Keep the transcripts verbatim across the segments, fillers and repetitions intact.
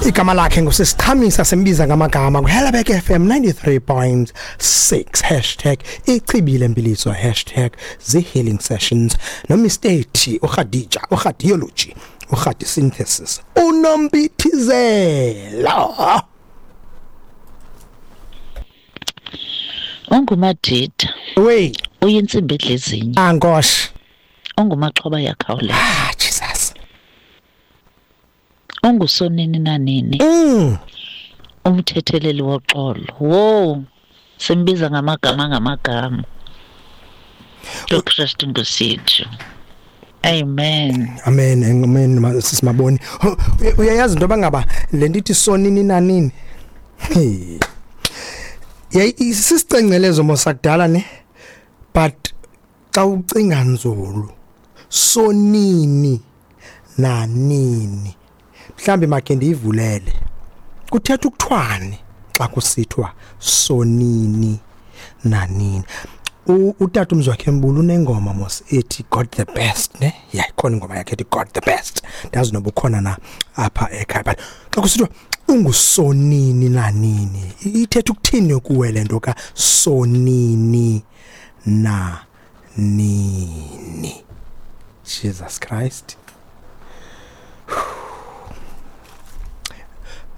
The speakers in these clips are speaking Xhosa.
Igama lakhe ngusisichamisa, simbiza ngamagama kuHelabek F M ninety-three point six, hashtag ichibile mpiliso, hashtag the healing sessions, no Mister uKhadija, uKhadiology, uKhadi synthesis, uNompithizela. Ungumadida. We uyintsimbi edlezinye. Angosh. Ungumaxhoba yakhawuleza. Ah, Jesus. Ungusonini nanini. Mm. Umthetheleli woxolo. Wo, simbiza ngamagama ngamagama. uKristu ngusithu. Amen. Amen. Amen. Sisimaboni. Uyayazi into bangaba le ndithi sonini nanini. Hey. Yeah, sisicengcelezo mosakudala ne, but xa ucinga nzulu sonini nanini, mhlambi makhe ndiyivulele, kuthetha ukuthwani xa kusithwa sonini nanini? Utata uMzwakhe Mbulu unengoma mos ethi God the best ne, yeah, ikhona ingoma yakhe ethi God the best, ndazi noba ukhona na apha ekhaya, but xa kusithwa ungusonini nanini, ithetha ukuthini kuwe le nto ka sonini na nini? Jesus Christ.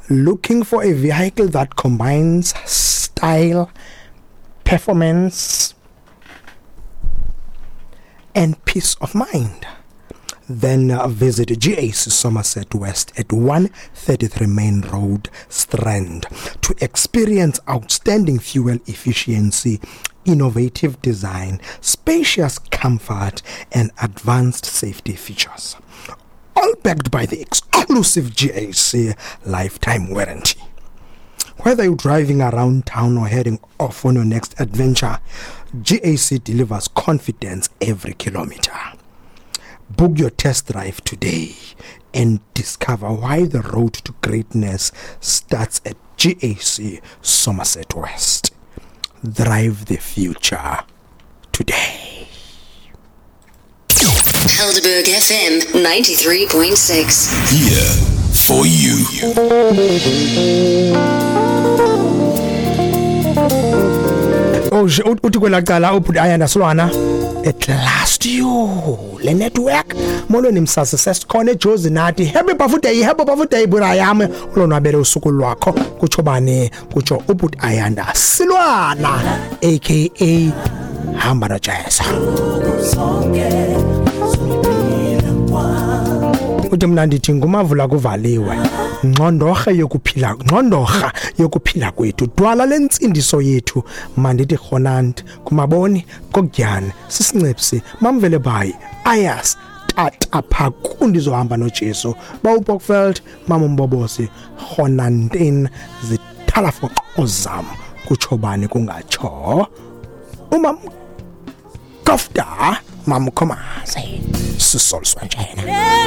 Looking for a vehicle that combines style, performance and peace of mind? Then uh, visit G A C Somerset West at one thirty-three Main Road, Strand, to experience outstanding fuel efficiency, innovative design, spacious comfort, and advanced safety features. All backed by the exclusive G A C lifetime warranty. Whether you're driving around town or heading off on your next adventure, G A C delivers confidence every kilometer. Book your test drive today and discover why the road to greatness starts at G A C Somerset West. Drive the future today. Helderberg F M ninety-three point six. Here for you. Oh, uthi kwela cala ubhuti Ayanda Silwana at last you le network molweni msasi sesikhona eJozi nathi happy birthday, happy birthday bura yami, ulonwabele usuku lwakho, kutsho bani? Kutsho ubhuti Ayanda Silwana aka Hamba noJesu. Uthi mna ndithi ngumavula kuvaliwe, ngqondorha yokuphila, ngqondorha yokuphila kwethu, dwala lentsindiso yethu, mandithi khonant kumaboni kokudyana sisincipsi mamvele bayi ayas tata phakundi zohamba noJesu bawuBokveld mama Mbobosi khonantin zithalafoqo zam, kutsho bani kungatsho umam Kofta mam Khomazi sisoliswa njena.